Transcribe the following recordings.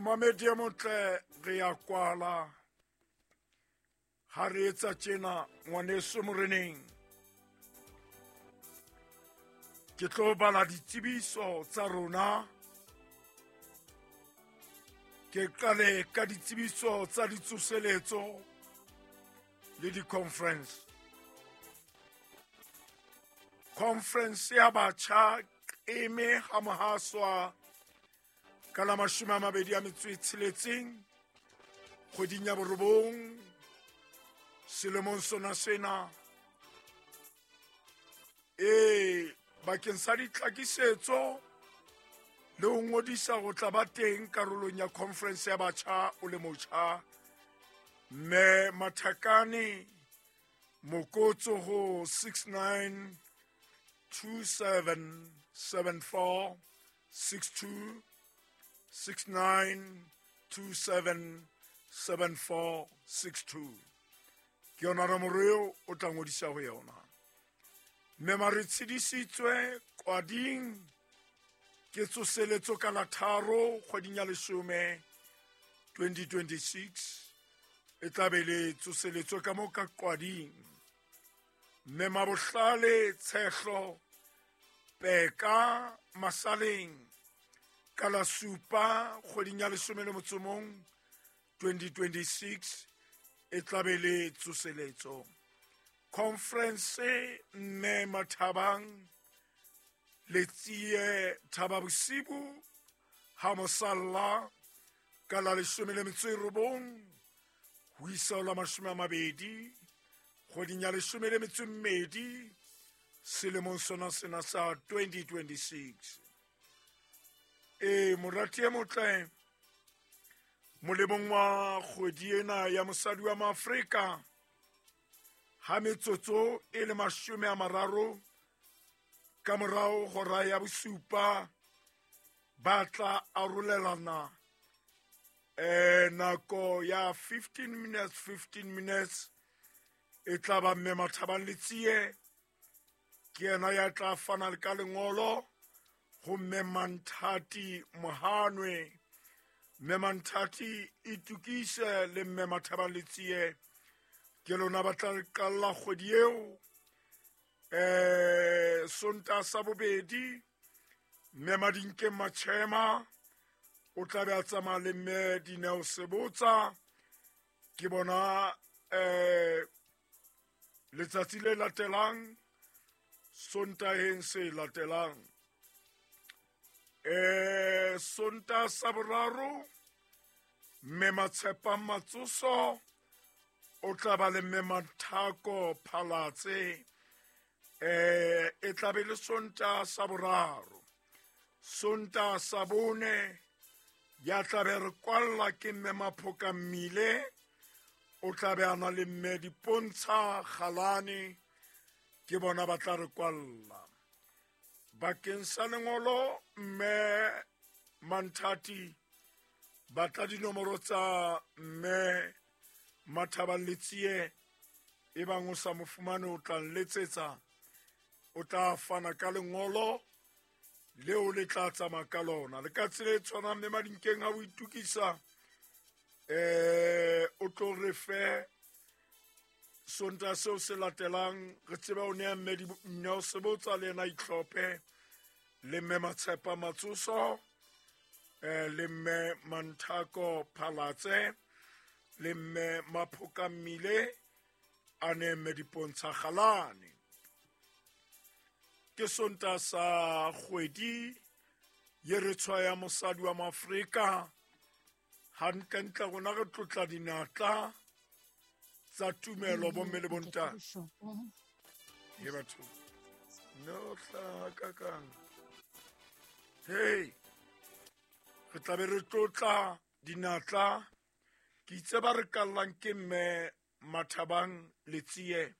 Momamedi e motle, re ya kwala. Ha re etsa tjena, ngwaneso moreneng. Ke tlo bala ditsebiso tsa rona. Ke qale ka ditsebiso tsa ditsoseletso le di-conference. Conference ya batjha Qeme ha Mohaswa ka la 26 kgweding ya 9 selemong sona sena. E bakeng sa ditlhakisetso le ho ngodisa go tla ba teng karolong ya conference ya batjha o le motjha. Mme Mathakane Mokotso ho 69 27 74 62, 69 27 74 62. Ke yona nomoro eo o tla ngodisa ho yona. Mme mare tshedisitswe kwading ke tsoseletso ka la 3 kgweding ya 10 2026. E tla be le tsoseletso ka mo ka kwading. Mme Mabohlale Tshehlo Peka Masaleng ka la 7 kgweding ya 11 2026 e tla be le tsoseletso. Conference mme Mathabang Letsie Thaba Bosibu ha mosalla ka la 19 ho isa ho la 20 kgweding ya 12 selemong sona sena sa 2026. E morati e motle, molemong wa kgwedi ena ya mosadi wa Maafrika, ha metsotso e le 30 ka morao hora ya 7 ba tla arolelana nako ya 15 minutes 15 minutes e tla ba mme Mathabang Letsie ke yena ya tla fana ka lengolo ho mme Manthati Mohanwe. Mme Manthati itukise le mme Mathabang Letsie ke lona ba tla qalla kgwedi eo. Sonta sa bobedi mme Madinkeng Machema o tla be a tsamaya le mme Dineo Sebotsa. Ke bona letsatsi le latelang Sontaheng se latelang. Sonta sa boraro mme Matshepang Matsoso o tla ba le mme Mathako Phalatse. E tla be le Sonta sa boraro. Sonta sa bone ya tla be re kwalla ke mme Maphoka Mmile o tla be a na le mme Dipontsha Galane ke bona ba tla re kwalla. Bakeng sa lengolo mme Manthati batla dinomoro tsa mme Mathabang Letsie e bang o sa mo fumane o tla nletsetsa, o tla fana ka lengolo leo le tla tsamaya ka lona. Le ka tsela e tshwanang mme Madinkeng ha o itukisa o tlo re fe Sonta seo se latelang re tsebe o nea mme Dineo Sebotsa le yena itlhophe le mme Matshepa Matsoso le mme Manthako Phalatse le mme Maphoka Mmile a ne mme Dipontsha Galane. Ke Sonta sa kgwedi ye re tshwaya mosadi wa Maafrika. Hantlentle rona re tlotla dinatla tsa tumelo bomme le bontate. He batho no hlaha kakang. Hey, re tla be re tlotla dinatla. Ke itse ba re kallang ke mme Mathabang Letsie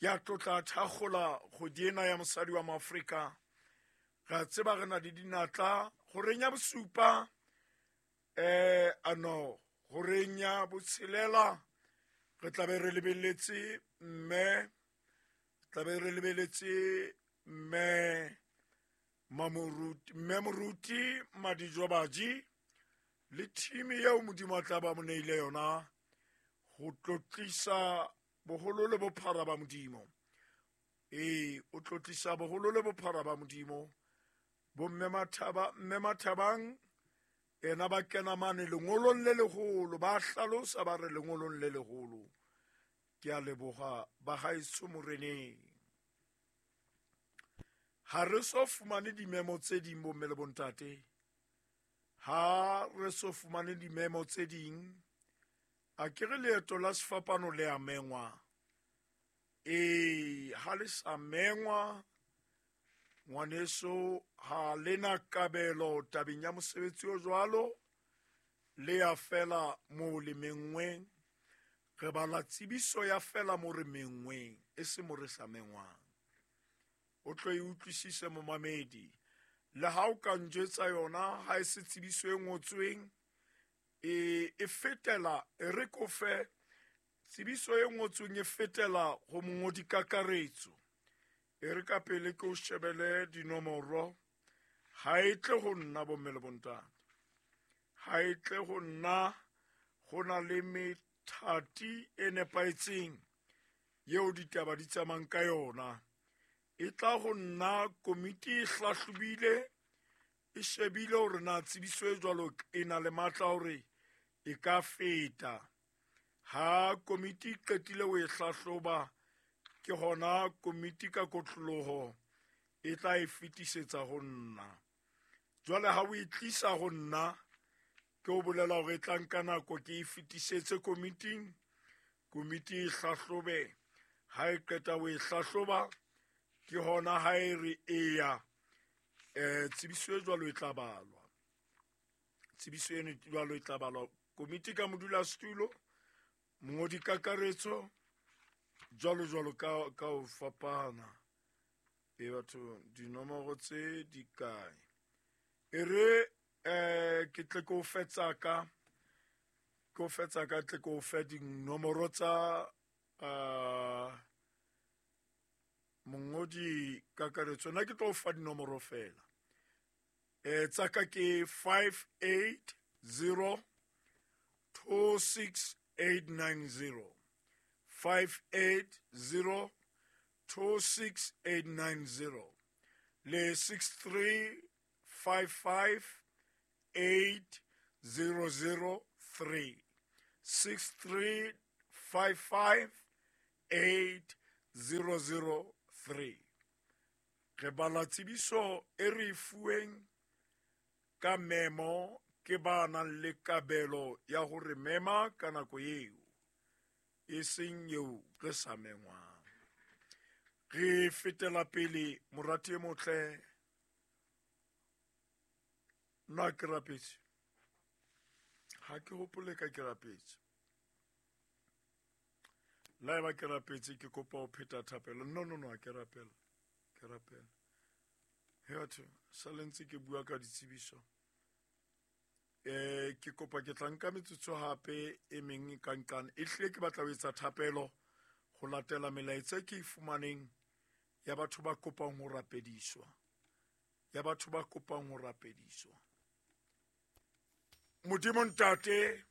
ya tlotla thakgola kgwedi ena ya mosadi wa Maafrika. Re a tseba re na le dinatla horeng ya 7 ano horeng ya 6 re tla be re lebeletse mme tla be re lebeletse mme Mamoruti, mme Moruti Madijobaji Le thimi eo Modimo a tla ba mo neile yona ho tlotlisa boholo le bophara ba Modimo. Ee, o tlotlisa boholo le bophara ba Modimo. Bomme Mathaba, mme Mathabang ena ba kena mane lengolong le leholo, ba hlalosa ba re lengolong le leholo. Ke a leboha ba haeso moreneng. Ha re so fumane dimemo tse ding bomme le bontate. Ha re so fumane dimemo tse ding, a ke re leeto la sefapano le a mengwa. Ee, ha le sa mengwa, ngwaneso, ha le na kabelo tabeng ya mosebetsi o jwalo, le ya fela moo le menngweng. Re bala tsebiso ya fela mo re menngweng, e se mo re sa mengwang. O tlo e utlwisise momamedi. Le ha o ka njwetsa yona, ha e se tsebiso e ngotsweng, e fetela, e re ko fe tsebiso e ngotsweng e fetela ho mongodi kakaretso. E re ka pele ke o shebele dinomoro, ha e tle ho nna bomme le bontate. Ha e tle ho nna, ho na le methati e nepahetseng yeo ditaba di tsamayang ka yona. E tla ho nna komiti e hlahlobile, e shebile hore na tsebiso e jwalo e na le matla hore e ka feta. Ha komiti e qetile ho e hlahloba, ke hona komiti ka kotloloho e tla e fetisetsa ho nna. Jwale ha o e tlisa ho nna, ke o bolela hore e tla nka nako ke e fetisetse komiting, komiti e hlahlobe. Ha e qeta ho e hlahloba, ke hona ha e re eya, tsebiso e jwalo e tla balwa. Tsebiso eno jwalo e tla balwa. Komiti ka modulasetulo, mongodi kakaretso, jwalo jwalo ka ho fapana. E batho, dinomoro tse di kae? E re, ke tle ke o fe tsa ka, ke o fe tsa ka, tle ke o fe dinomoro tsa, mongodi kakaretso. Nna ke tlo o fa dinomoro fela. Tsa ka ke 580 26890. 580 26890. Le 6355 8003. 6355 8003. Re bala tsebiso e re e fuweng ka memo ke ba nang le kabelo ya hore mema ka nako eo, e seng eo re sa mengwang. Re fetela pele, morati e motle. Nna ke rapetse. Ha ke hopole ka ke rapetse. La eba ke rapetse, ke kopa ho pheta thapelo. No, no, no, ha ke rapela. Ke rapela. He batho, sa le ntse ke bua ka ditsebiso. Ke kopa ke tla nka metsotso hape e meng ka nqane. E hlile ke batla ho etsa thapelo ho latela melaetsa e ke e fumaneng ya batho ba kopang ho rapediswa. Ya batho ba kopang ho rapediswa. Modimo Ntate,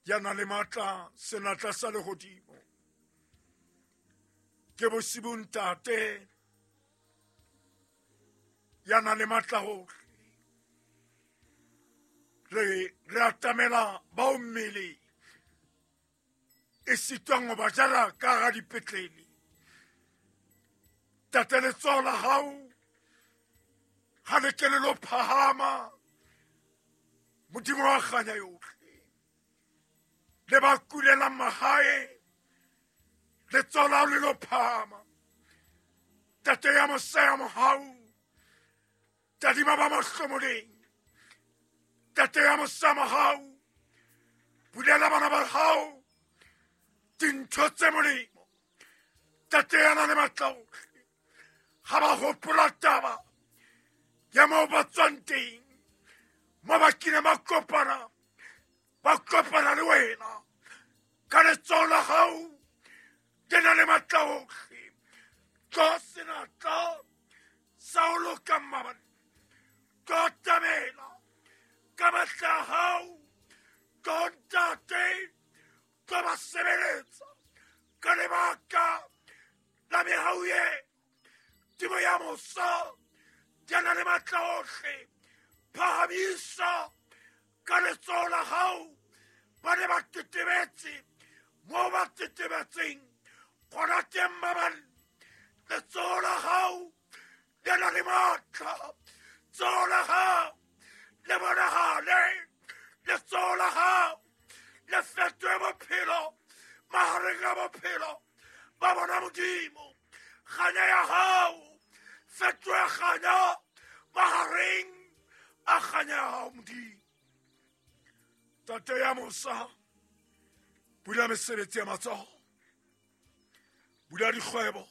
ya nang le matla, senatla sa lehodimo. Ke bosibu Ntate, ya nang le matla hohle. Re atamela bao mmele e sitwang ho ba jara ka hara dipetlele. Tate, letsoho la hao ha le ke le lo phahama, Modimo wa kganya yohle. Le ba kulelang mahae, letsoho la hao le lo phahama. Tate ya mosa ya mohau, tadima ba mahlomoleng. Tate ya mosa mohau, bulela bana ba hao dintho tse molemo. Tate ya nang le matla ohle, ha ba hopola taba ya moo ba tswang teng, mo ba kileng ba kopana, ba kopana le wena ka letsoho la hao le na le matla ohle. Tlo senatla sa ho loka mmabane, tlo atamela ka ba yohle. Phahamisa ka letsoho la hao ba ne ba tetebetse moo ba tetebetseng gona teng ba bane. Letsoho la hao le na le matla, tsoho la hao le bonahale, letsoho la hao le fetohe bophelo mahareng a bophelo ba bona Modimo. Kganya ya hao fetohe kganya mahareng a kganya ya hao Modimo. Tate ya mosa, bula mesebetsi ya matsoho, bula dikgwebo,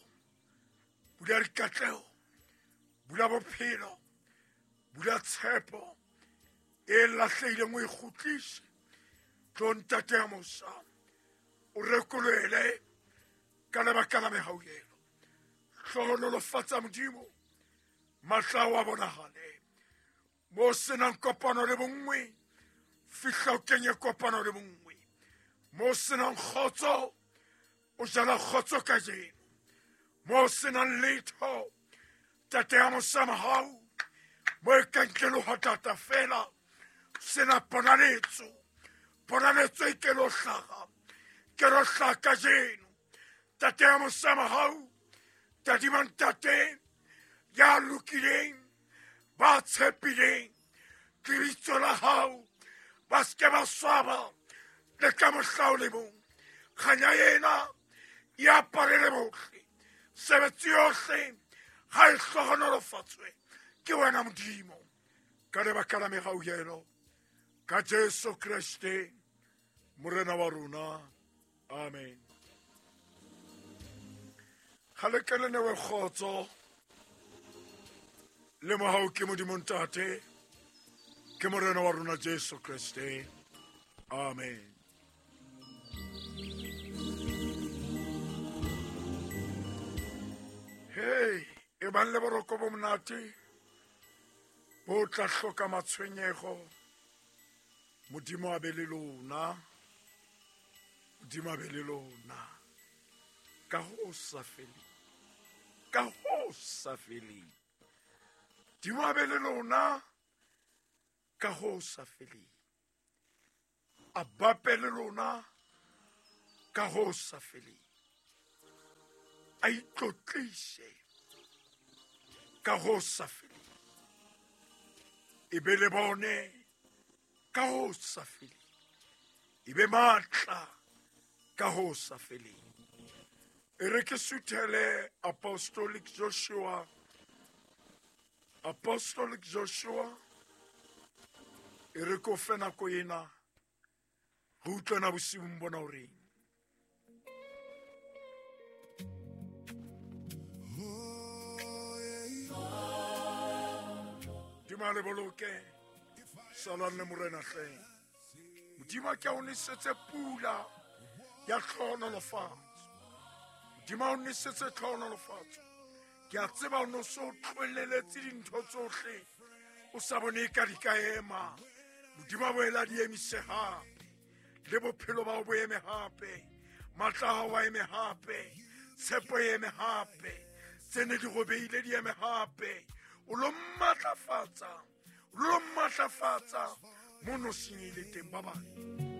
bula dikatleho, bula bophelo, bula tshepo e lahlehileng o e kgutlise. Tlo ntate ya mosa, o rekolohele ka lebaka la mehauhelo. Hlohonolofatsa Modimo, matla ao a bonahale. Mo senang kopano le bonngwe, fihla o kenye kopano le bonngwe. Mo senang kgotso, o jala kgotso kajeno. Mo senang letho, tate ya mosa mahau, mo e kang ke lehwatata fela, sena ponaletso, ponaletso e ke lo hlaha, ke lo hlaha kajeno. Tate ya mosa mahau, tadima ntate ya lokileng, ba tshepileng lebitso la hao, ba se ke ba swaba le ka mohla o le mong. Kganya ena e aparele bohle, sebetsi yohle ga e hlohonolofatswe ke wena Modimo, ka lebaka la mehauhelo ka Jesu Kreste Morena wa rona. Amen. Ga le ke le newe kgotso le mohau ke Modimo Ntate, ke Morena wa rona Jesu Kreste. Amen. Hey, e bang le boroko bo monate bo tla hloka matshwenyego. Modimo a be le lona, Modimo a be le lona ka ho sa feleng, ka ho sa feleng. Modimo a be le lona ka ho sa feleng, a bape le lona ka ho sa feleng, a itlotlise ka ho sa feleng, e be le bone ka ho sa feleng, e be matla ka ho sa feleng. E re ke suthele Apostolic Joshua, Apostolic Joshua, e re ko fe nako ena re utlwana bosiung bona o reng. Modimo a le boloke, salang le Morena hleng. Modimo a ke a o nesetse pula ya tlhohonolofatso. Modimo a o nesetse tlhohonolofatso. Ke a tseba o no so tlohelleletse dintho tsohle, o sa bone ka di ka ema. Modimo a boela di emise hape, le bophelo ba o bo eme hape, matla a hao a eme hape, tshepo e eme hape, tse ne di robeile di eme hape. O lo matlafatsa, o lo matlafatsa mono senyehile teng. Ba bang.